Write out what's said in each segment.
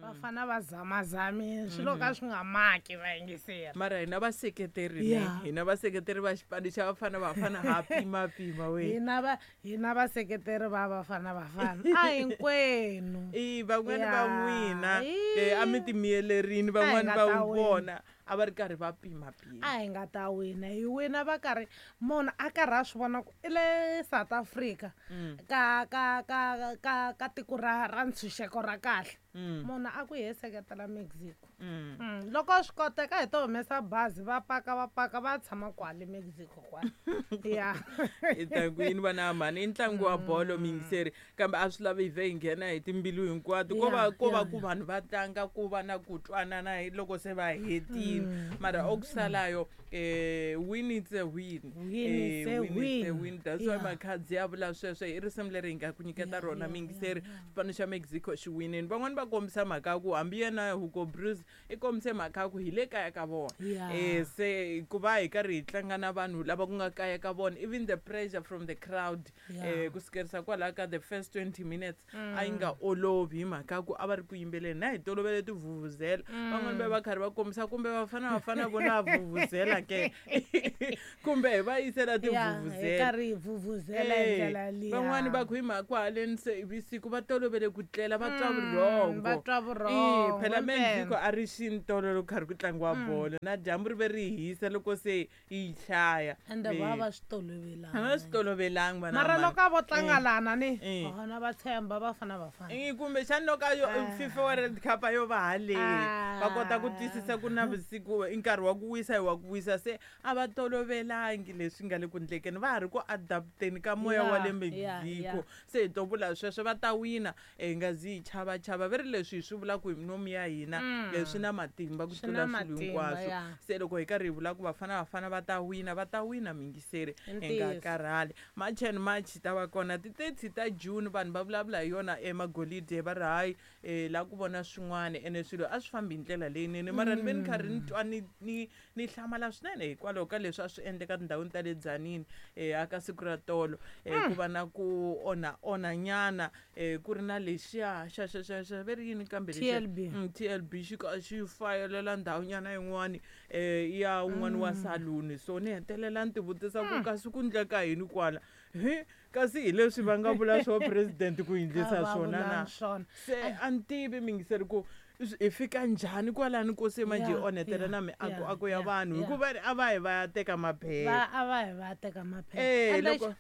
Vafana va zamazamile swilo ka swi nga maki vayingiseri. Mara hina vaseketeri ne hina vaseketeri va xipano xa Bafana Bafana ha pimapima we. Hina vaseketeri va Bafana Bafana a hinkwenu. I van'wani va n'wina a mi timiyelerini van'wani va vona a va ri karhi va pimapima. A hi nga ta wina hi wina va karhi munhu a karhi a swi vona ku i le South Africa ka ka ka ka ka tiko ra ntshunxeko ra kahle. Munhu a ku hi seketela Mexico. Loko swi koteka hi to humesa bazi va paka va paka va tshama kwale Mexico kwale. Ya. I ta ku yini vana mhani i ntlangu wa bolo miyingiseri kambe a swi lavi hi vhe hi nghena hi timbilu hinkwato ko va ko va ku vanhu va tlanga ku va na ku twanana hi loko se va hetile mara okusalayo win it's a win. Win it's a Win it's a win. win. That's why Makhadzi ya vula sweswo i risimu leri hi nga ku nyiketa rona miyingiseri xipano xa Mexico xi winini van'wani va kombisa mhaka ya ku hambi yena Hugo Broos i kombise mhaka ya ku hi le kaya ka vona se ku va hi karhi hi tlanga na vanhu lava ku nga kaya ka vona even the pressure from the crowd ku sukerisa kwalaho ka the first 20 minutes a yi nga olovi hi mhaka ya ku a va ri ku yimbeleni na hi tolovele tivhuvhuzela van'wani va va karhi va kombisa kumbe vafana vafana vona vhuvhuzela ke kumbe hi va yisela tivhuvhuzela karhi hi vhuvhuzela hi ndlela liya. Van'wani va ku hi mhaka ku haleni se vusiku va tolovele ku tlela va twa vurhongo. Va twa vurhongo, Phela impela. Mexico a ri xintolo loko karhi ku tlangiwa bolo na dyambu ri ve ri hisa loko se yi hlaya. Ende va va swi tolovelanga. A va swi tolovelangi vana Mara mhani. loko a vo tlanga lana ni vona va tshemba Bafana Bafana. Kumbexani loko a yo FIFA World Cup a yo va haleni va kota ku twisisa ku na vusiku i nkarhi wa ku wisa hi wa ku wisa se a va tolovelangi leswi nga le ku ndlekeni va ha ri ku adapteni ka moya wa le Mexico se hi to vula sweswo va ta wina hi nga zi hi chavachava ve ri leswi hi swi vulaka hi minomu ya hina swi na matimba ku Swi na tlula swilo matimba, hinkwaswo se loko hi karhi hi vula ku Bafana Bafana va ta wina va ta wina miyingiseri hi nga Ntiyiso. karhali March and March ta va kona ti 30 ta June vanhu va vulavula hi yona emagolide va ri hayi la ku vona swin'wana ene swilo a swi fambi hi ndlela leyinene mara ni ve ni karhi ni twa ni ni ni hlamala swinene hikwalaho ka leswi a swi endleka tindhawini ta le Tzaneen aka siku ra tolo ku va na ku onha onha nyana ku ri na lexiya xa xa xa xa ve ri yini kambe lexiya? TLB. TLB xi ka xi fayelela ndhawu nyana yin'wani ya un'wana wa saluni so ni hetelela ni tivutisa ku kasi ku ndleka yini kwala he kasi hi leswi va nga vula swo president ku endlisa A va swona na vulanga swona. Se a ni tivi mingiseri ku hi fika njhani kwalani ko se manje hi onhetela na miako ako ya vanhu hikuva a va hi va ya teka maphepha A va hi va ya teka maphepha. Loko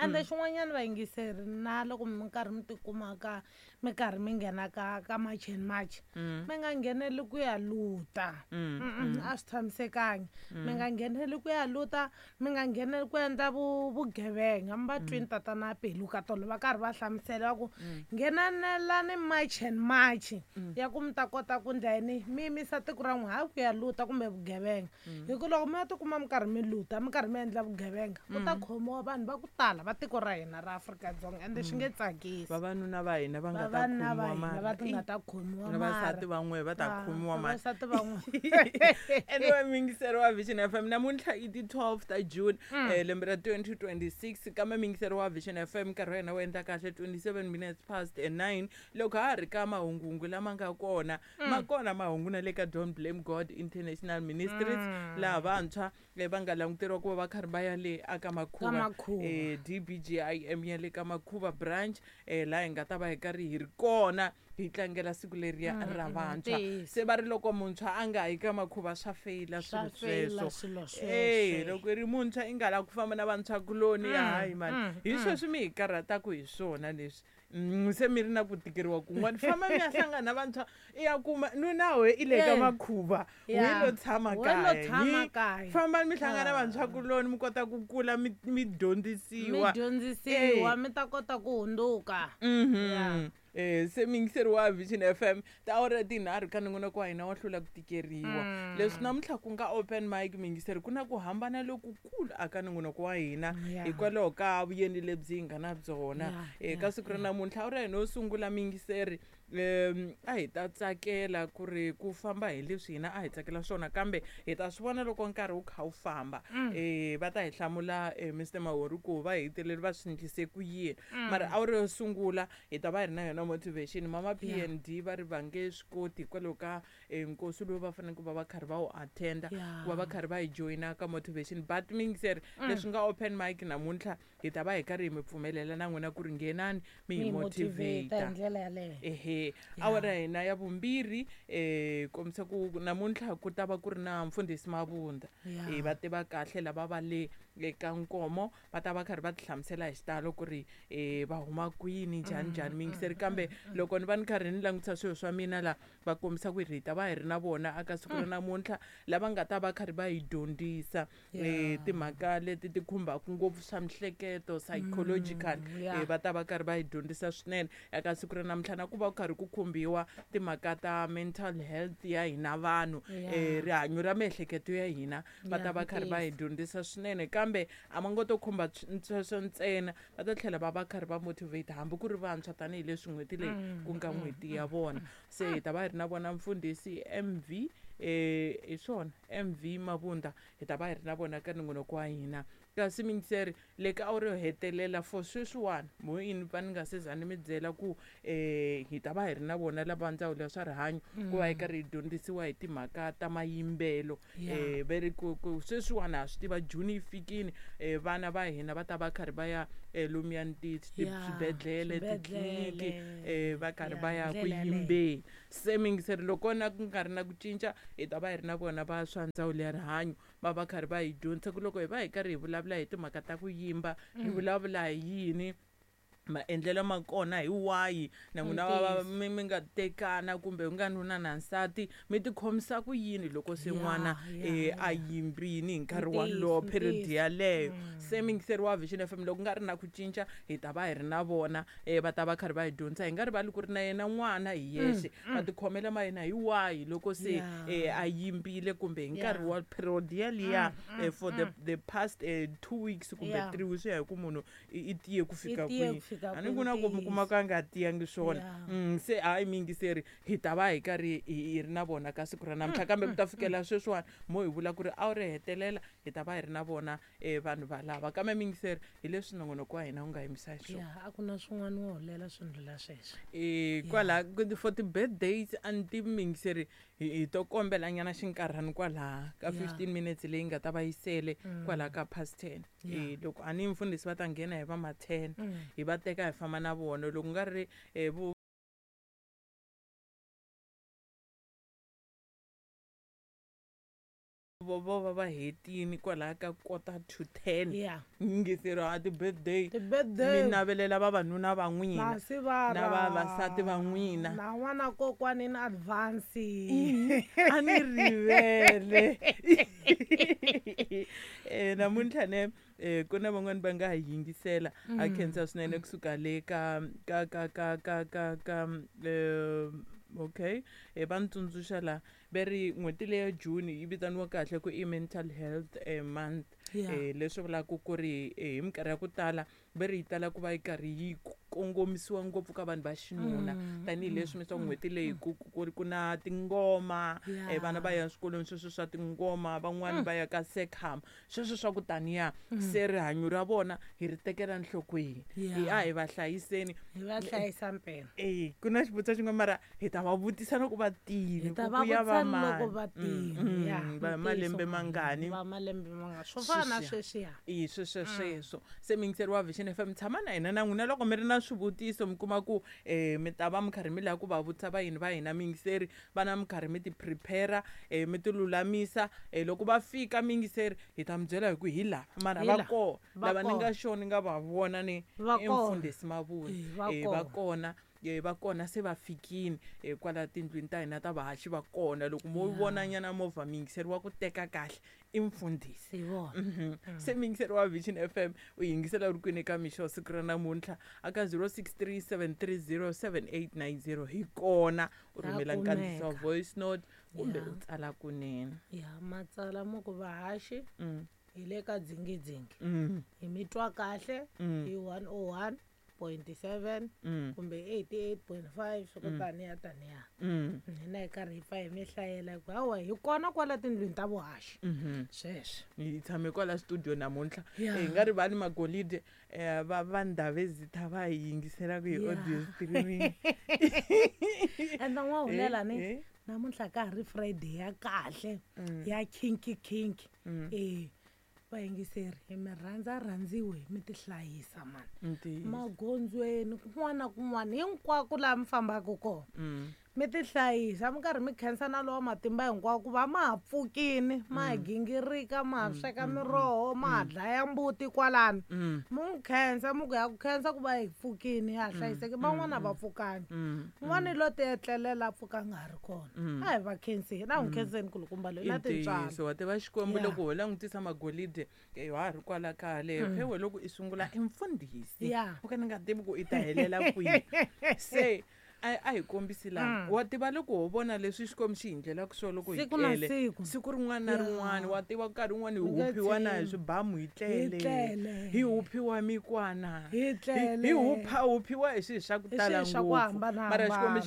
Ende xin'wanyana vayingiseri na loko mi karhi mi tikuma ka mi karhi mi nghena ka ka March and March mi nga ngheneli ku ya luta. A swi tshamisekangi. Mi nga ngheneli ku ya luta, mi nga ngheneli ku endla vugevenga. Mi va twini tatana Peluka tolo va karhi va hlamusela va ku nghenelelani March and March ya ku mi ta kota ku ndla yini mi yimisa tiko ra n'wina hayi ku ya luta kumbe vugevenga. Hi ku loko mi ya tikuma mi karhi mi luta mi karhi mi endla vugevenga ku ta khomiwa vanhu va ku tala va tiko ra hina ra Afrika-Dzonga ende swi nge tsakisi. Vavanuna va hina va nga ta Vavanuna va khomiwa hina mara. va ti nga ta khomiwa Na vavasati mara. van'we va ta khomiwa mara. Vavasati van'we. Anyway, miyingiseri wa Vision FM namuntlha i ti 12 ta June lembe ra 2026 kambe miyingiseri wa Vision FM nkarhi wa hina wu endla kahle 27 minutes past 9 loko ha ha ri ka mahungungu lama nga kona ma kona mahungu na le ka Don't Blame God International Ministries laha vantshwa va nga languteriwa ku va va karhi va ya le aka Makhuva, Ka Makhuva. DBGIM ya le ka Makhuva branch laha hi nga ta va hi karhi hi ri kona hi tlangela siku leriya ra vantshwa. Ntiyiso. Se va ri loko muntshwa a nga yi ka Makhuva swa feyila Swa swilo feyila sweswo. swilo sweswo. Loko i ri muntshwa i nga lavi ku famba na vantshwakuloni hayi mani hi sweswi mi hi karhataka hi swona leswi. Se mi ri na ku tikeriwa kun'wana famba mi ya hlangana na vantshwa i ya kuma nuna we i le ka Makhuva we lo tshama We lo kaya. tshama kaya. Fambani mi hlangana na vantshwakuloni mi kota ku kula mi dyondzisiwa. Mi dyondzisiwa, mi ta kota ku hundzuka. Se miyingiseri wa Vision FM tiawara tinharhu ka nongonoko wa hina wa hlula ku tikeriwa. Leswi namuntlha ku nga open mic miyingiseri ku na ku hambana lokukulu aka nongonoko wa hina hikwalaho ka vuyeni lebyi hi nga na byona. Ka siku ra namuntlha awara hina yo sungula miyingiseri a hi ta tsakela ku ri ku famba hi leswi hina a hi tsakela swona kambe hi ta swi vona loko nkarhi wu kha wu famba. Va ta hi hlamula Mr Mahori ku va hetelele va swi endlise ku yini. Mara awara yo sungula hi ta va hi ri na yona na motivation. Mama PND va ri va nge swi koti hikwalaho ka nkosi lowu va faneleke ku va va karhi va wu attenda, ku va va karhi va hi joyina ka motivation. But miyingiseri, leswi nga open mic namuntlha, hi ta va hi karhi hi mi pfumelela na n'wina ku ri nghenani mi hi motivate hi motivate. Ndlela yaleyo. Ehe, awara ya hina ya vumbirhi kombisa ku namuntlha ku ta va ku ri na mfundhisi Mavunda. Va tiva kahle lava va le eka Nkomo, va ta va karhi va ti hlamusela hi xitalo ku ri va huma kwini, njhani njhani, miyingiseri. Kambe loko ni va ni karhi ni langutisa swilo swa mina la, va kombisa ku hi ta va hi ri na vona aka siku ra namuntlha, lava nga ta va karhi va hi dyondzisa timhaka leti ti khumbaka ngopfu swa mihleketo, psychological. Va ta va karhi va hi dyondzisa swinene eka siku ra namuntlha, na ku va ku karhi ku khumbiwa timhaka ta mental health ya hina vanhu, rihanyo ra miehleketo ya hina. Va ta va karhi va hi dyondzisa swinene, kambe a va ngo to khumba sweswo ntsena, va ta tlhela va va karhi va motivate hambi ku ri vantshwa, tanihileswi n'hweti leyi ku nga n'hweti ya vona. Se hi ta va hi ri na vona mfundhisi MV, hi swona, MV Mavunda, hi ta va hi ri na vona ka nongonoko wa hina. Kasi miyingiseri, le ka awara yo hetelela for sweswiwani, mo yini va ni nga se za ni mi byela ku hi ta va hi ri na vona lava ndzawulo ya swa rihanyo, ku va hi karhi hi dyondzisiwa hi timhaka ta mayimbelo. Ve ri ku sweswiwani ha swi tiva June yi fikini, vana va hina va ta va karhi va ya lomuyani swibedhlele, titliliniki, va karhi va ya ku ndlela yaleyo. Yimbeni. Se miyingiseri, loko na ku nga ri na ku cinca, hi ta va hi ri na vona va swa ndzawulo ya rihanyo, va va karhi va hi dyondzisa ku loko hi va hi karhi hi vulavula hi timhaka ta ku yimba, hi vulavula hi yini, maendlelo ma kona hi wahi, na n'wina va mi nga tekana kumbe u nga nuna na nsati, mi ti khomisa ku yini loko se n'wana a yimbini hi nkarhi walowo, period yaleyo. Se miyingiseri wa Vision FM, loko ku nga ri na ku cinca, hi ta va hi ri na vona, va ta va karhi va hi dyondzisa. Hi nga rivali ku ri na yena n'wana hi yexe, matikhomelo ma yena hi wahi loko se a yimbile kumbe hi nkarhi wa period yaliya, for the past 2 weeks kumbe 3 weeks, swi ya hi ku munhu i tiye ku fika I tiye kwihi. Ku fika A ni ku na ku mi kuma ku a nga tiyangi swona. Se hayi miyingiseri, hi ta va hi karhi hi ri na vona ka siku ra namuntlha, kambe ku ta fikela sweswiwani mo hi vula ku ri a wu ri hetelela hi ta va hi ri na vona vanhu valava. Kambe miyingiseri, hi leswi nongonoko wa hina wu nga yimisa hi swona. Ya, a ku na swin'wana wo holela swi ndlula sweswo. Kwala for ti-birthdays, a ni tivi miyingiseri, hi to kombela nyana xinkarhani kwalaha ka 15 minutes leyi nga ta va yi sele kwalaha ka past 10. Loko a ni mfundhisi va ta nghena hi va ma 10, hi va teka hi famba na vona. Loko nga ri vo vo va hetini kwalaya ka 9:45. Yingiseri, a ti-birthday, ti-birthday, mi navelela vavanuna va n'wina Masivara na vavasati va n'wina. Na n'wana kokwani in advance. A ni rivele, namuntlha ne ku na van'wani va nga ha yingisela, a khensa swinene kusuka le ka okay, va ni tsundzuxa la, ve ri n'hweti leya June yi vitaniwa kahle ku i Mental Health Month. Leswi vulaka ku ri hi minkarhi ya ku tala ve ri yi tala ku va yi karhi yi kongomisiwa ngopfu ka vanhu va xinuna, tanihileswi mi swa n'hweti leyi ku na tingoma, vana va ya swikolweni sweswo swa tingoma, van'wani va ya ka secam, sweswo swa ku taniya. Se rihanyo ra vona hi ri tekela nhlokweni. Hi a hi va hlayiseni. Hi va hlayisa mpela. E ku na xivutiso xin'wana, mara hi ta va vutisa loko va tini. Hi ta ku va ku ya va vutisa loko mani. Va tini, ya. Va malembe mangani. Va malembe mangani, swo fana na Sweswiya. sweswiya. I sweswo sweswo. Se miyingiseri wa Vision FM, tshama na hina, na n'wina loko mi ri na swivutiso, mi kuma ku mi ta va mi karhi mi lava ku va vutisa va yini va hina miyingiseri, va na mi karhi mi ti prepare, mi ti lulamisa, loko va fika miyingiseri, hi ta mi byela hi ku hi lava, mara Hi va la. kona Va lava ni nga kona. sure ni nga va vona ni Va i kona. mfundhisi Mavula. Va Va kona. kona, va kona, se va fikini kwala tindlwini ta hina ta vahaxi, va kona. Loko mo vona nyana movha, miyingiseri wa ku teka kahle, i mfundhisi. Hi vona. Se miyingiseri wa Vision FM, u yingisela u ri kwini ka mixo siku ra namuntlha? Aka 0637307890 hi kona u Ra rhumela nkandziyiso wa kumeka. voice note kumbe u tsala kunene. Ya, matsala mo ku vahaxi, hi le ka dzingidzingi, hi mi twa kahle hi 101. 97.7 kumbe 88.5 swa ku taniya taniya. Hina hi karhi hi pfa hi mi hlayela hi ku hawa hi kona kwala tindlwini ta vuhaxi. Sweswo. Hi tshame kwala studio namuntlha. Yeah. Hi nga rivali magolide va Ndhavezitha va hi yingiselaka hi audio streaming. Ende n'wahulela ni namuntlha ka ha ri Friday ya kahle ya kinky kinky. Vayingiseri hi mi rhandza rhandziwe mi tihlayisa mani. Ntiyiso. Magondzweni kun'wana na kun'wana hinkwako laha mi fambaka kona. Mi tihlayisa mi karhi mi khensa na lowa matimba hinkwako ku va ma ha pfukini ma ha gingirika ma ha sweka miroho ma ha dlaya mbuti kwalano. Mi n'wi khensa mi ku ya ku khensa ku va hi pfukini ha hlayiseki van'wana va pfukangi. Un'wana lo ti etlelela a pfuka a nga ha ri kona. A hi va khenseni a hi n'wi khenseni kulukumba loyi na tintswalo. Ntiyiso wa tiva Xikwembu Yeah. loko ho langutisa magolide wa ha ri kwala khale phewe loko i sungula i mfundhisi. Yeah. U ka ni nga tivi ku i ta helela kwihi. Se a hi kombisi laha. Wa tiva loko ho vona leswi Xikwembu xi hi ndlelaka swona loko hi Siku na tlele. siku. Siku rin'wana na Yeah. rin'wana wa tiva nkarhi wun'wana hi Mi nge huphiwa na hi tshembi. swibamu hi Hi tlele. tlele. Hi huphiwa mikwana. Hi tlele. Hi huphiwa hi swilo swa ku Hi tala swilo swa ku ngopfu. hambanahambana. Mara Xikwembu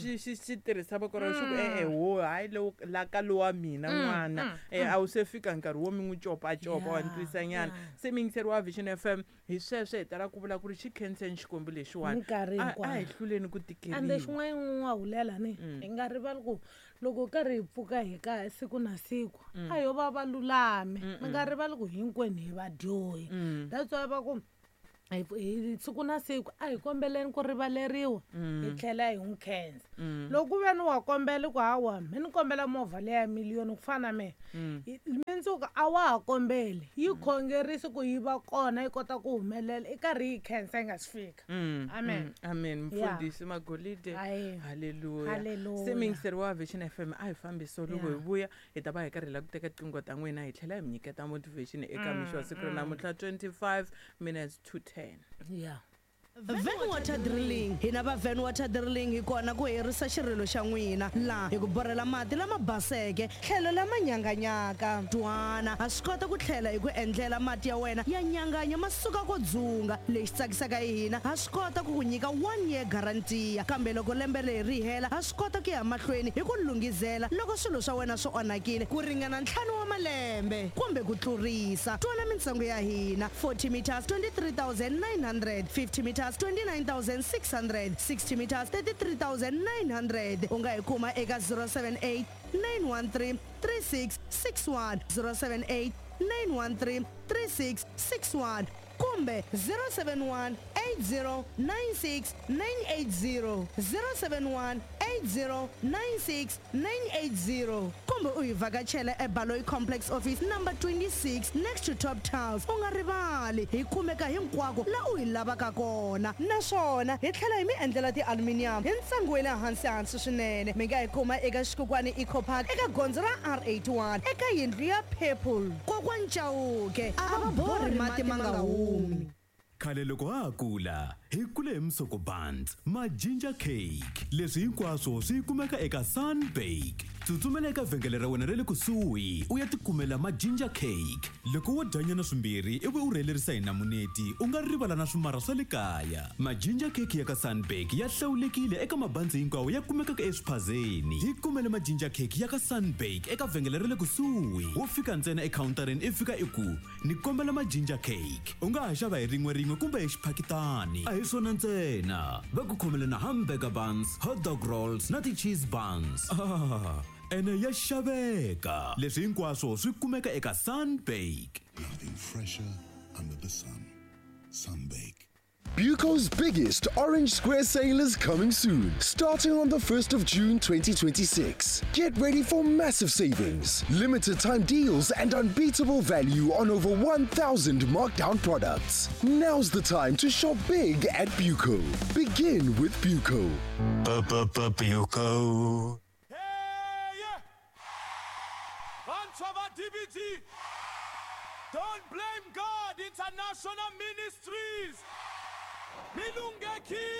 xi tirhisa voko ra xi ku e-e ho hayi lowu la ka lowa mina n'wana. A wu se fika nkarhi wo mi n'wi copacopa wa ni Yeah, twisa nyana. yeah. Se mi yingiseri wa Vision FM hi sweswo hi tala ku vula ku ri xi khenseni Xikwembu lexiwani. Minkarhi A hi hinkwayo. hluleni ku Ende tikeriwa. xin'wana n'wahulela ni hi nga rivali ku loko karhi hi pfuka hi ka siku na siku a yo va va lulami. Mi nga rivali ku hinkwenu hi vadyohi. That's why va ku hi siku na siku a hi kombeleni ku rivaleriwa hi tlhela hi n'wi khensa. Loko ku ve ni wa kombela ku hawa mi ni kombela movha leya ya miliyoni ku fana na mehe. Mundzuku a wa ha kombeli yi khongerisi ku yi va kona yi kota ku humelela i karhi yi khensa yi nga si fika. Amen. Amen. Yeah. Mfundhisi Magolide. Aye. Hallelujah. Hallelujah. Se mi yingiseri wa Vision FM a hi fambiso loko hi Yeah. vuya hi ta va hi karhi hi lava ku teka tinqingho ta n'wina hi tlhela hi mi nyiketa motivation eka mixo wa siku ra namuntlha 25 minutes to 10. Yeah. Van Water Drilling. Hina va Van Water Drilling hi kona ku herisa xirilo xa n'wina laha hi ku borhela mati lama baseke tlhelo lama nyanganyaka. Twana ha swi kota ku tlhela hi ku endlela mati ya wena ya nyanganya ma suka ko dzunga. Lexi tsakisaka hi hina ha swi kota ku ku nyika 1 year guarantee kambe loko lembe leri ri hela ha swi kota ku ya mahlweni hi ku lunghizela loko swilo swa wena swi onhakile ku ringana 5 wa malembe kumbe ku tlurisa. Twana mintsengo ya hina 40 meters 23,900, 50 meters 29,600, 60 meters 33,900. U nga hi kuma eka 078 913 3661, 078 913 3661 kumbe 071 8096 980, 071 8096 980 kumbe u hi vhakachela eBaloyi Complex Office number 26 next to Top Tiles. U nga rivali hi kumeka hinkwako la u hi lavaka kona naswona hi tlhela hi mi endlela ti-aluminium hi ntsengo wa le hansi hansi swinene. Mi nga hi kuma eka Xikokwani Eco Park eka gondzo ra R81 eka yindlu ya Purple. Kokwani Chauke a va borhi mati ma nga humi. Khale loko ha ha kula hi kule hi musoko buns ma ginger cake leswi hinkwaswo swi kumeka eka Sunbake. Tsutsumela eka vhengele ra wena ra le kusuhi u ya tikumela ma ginger cake. Loko wo dyanyana swimbirhi ivi u rhelerisa hi namuneti u nga rivala na swimara swa le kaya. Ma ginger cake ya ka Sunbake ya hlawulekile eka mabandzi hinkwawo ya kumekaka eswiphazeni. Hi kumele ma ginger cake ya ka Sunbake eka vhengele ra le kusuhi. Wo fika ntsena ekhawuntarini i fika i ku ni kombela ma ginger cake. U nga ha xava hi rin'we rin'we kumbe hi xiphakitani. A hi swona ntsena, va ku khomele na hamburger buns, hot dog rolls na ti-cheese buns. Ene ya xaveka. Leswi hinkwaswo swi kumeka eka Sunbake. Nothing fresher under the sun. Sunbake. Buco's biggest Orange Square sale is coming soon, starting on the 1st of June 2026. Get ready for massive savings, limited time deals, and unbeatable value on over 1,000 markdown products. Now's the time to shop big at Buco. Begin with Buco. Buco. DBT, Don't Blame God International Ministries. Milungeki.